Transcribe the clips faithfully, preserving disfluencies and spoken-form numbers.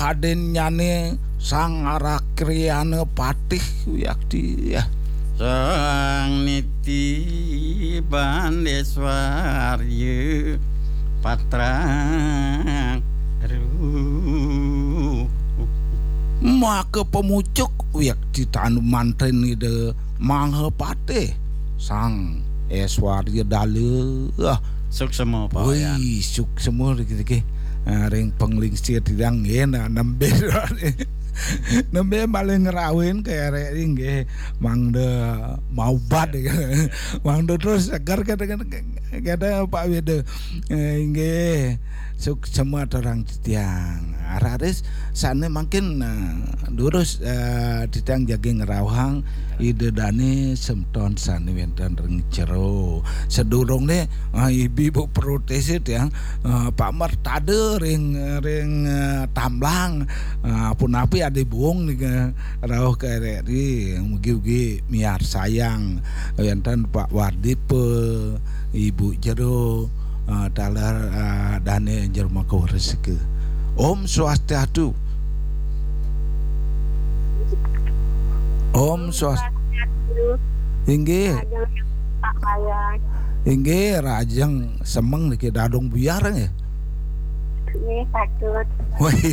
kadénnyané Sang Arakriyana Patih wiakti ya. Sang Niti Bandéswarya Patrak Ruh. Maka pamucuk wiakti tanu mantén Ida Mahapatih Sang Eswarya Dala. Suksema, Pak Wayan. Wih, suksema dikit-dikit. Ah, ring panglingsir tiang nggih, nah, nembé nembé malih ngrawin ka érék nggih, mangda maubat. Mangda terus seger kata, kata, kata Pak Wida. Eh, nggih, suksema aturang titiang. Raris sané mangkin, eh, durus, eh, titiang jagi ngrauhang Ida dané semeton sané wénten ring jero. Sadurungné, ah, ibu-ibu protes tiang, ah, Pak Mertada ring, ring, ah, Tamblang, ah, punapi adi buung nika rauh ka R R I, mugi-ugi miarsayang wénten Pak Wardipa, Ibu Jero, ah, taler, ah, dané jero maka resiki. Om Swastiastu. Om Swas-, Swastiastu. Inggih. Pak Wayan. Inggih, rahajeng semeng niki dadong buyar nggih. Nggih, patut. Wih.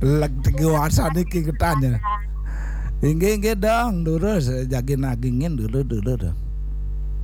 Leg tegi wasan niki ketanya. Inggih, inggih dong, durus jagi nagingin dulu, dulu dong.